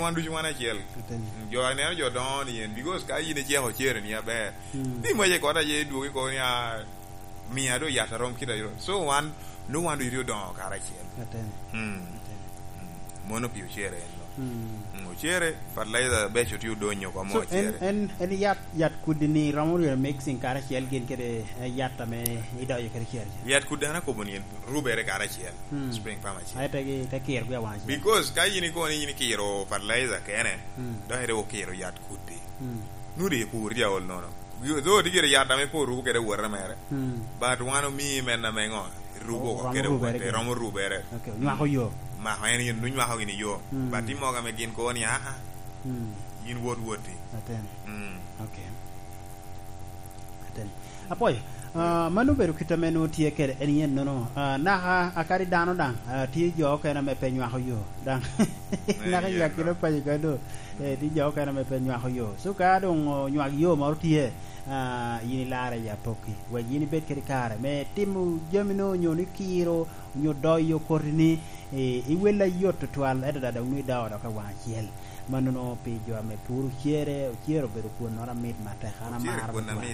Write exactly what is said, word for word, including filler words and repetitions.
wan ducu wan acel. Ateni. Jo aneno jo dongo ni en, because ka in iceko cere ni aber. Mm. Di mwace kota je dwogi ko ni a, mia do yat arom kit ayo. So wan, no wan ducu odongo karacel. Ateni. Mm. Ateni. Mm. Mono pi ocere en no. Mm. Mm, ocere, fertilizer beco tye odonyo kwa mo. So, en, ocere. En, en yat, yat kudi ni romo rwero mixing karacel gin kede, eh, yat ame idoyo kede cere. Yat kudi an akobo ni en rubere karacel. Mm. Spring farm acel. Aye te gi, te kiro gi awaŋ acel. Because ka in ikono ni in ikiro fertilizer kene, mm, dok ite okiro yat kudi. Mm. Nudi ipur tye aol nono. Though tye gire yat ame pe orubo kede wota mere. Mm. But wan omii men ame ŋo? Irubo oko kede woti, romo rubere. Okay, onywako yo. Mako en yin, onywako gini yo. Mm. But tye mogo ame gin kono ni, "Ah, ah, mm, yin wot woti." Atene. Mm. Okay. Atene. Apwoyo. Ah, mano obedo kit ame nwoŋo tye kede en yen nono. Ah, naka akadi dano daŋ, ah, tye jo okene ame pe nywako yo. Daŋ. Eh, naka yen yak kino paco ka do. Eh, tye jo okene ame pe nywako yo. So, ka doŋ onywak yo moro tye, ah, yin ilarre i apokki. Wek yin ibed kede kare me timo jami no, onyo ni kiro, onyo doyo koti ni, eh, iwella yot tutwal, ento daŋ doŋ nwoŋo idoŋo dok i waŋ acel. Mannono pi jo ame puro cere, ocere obedo kwonnoro amit matek, an amaro kwon tutwal. Amit.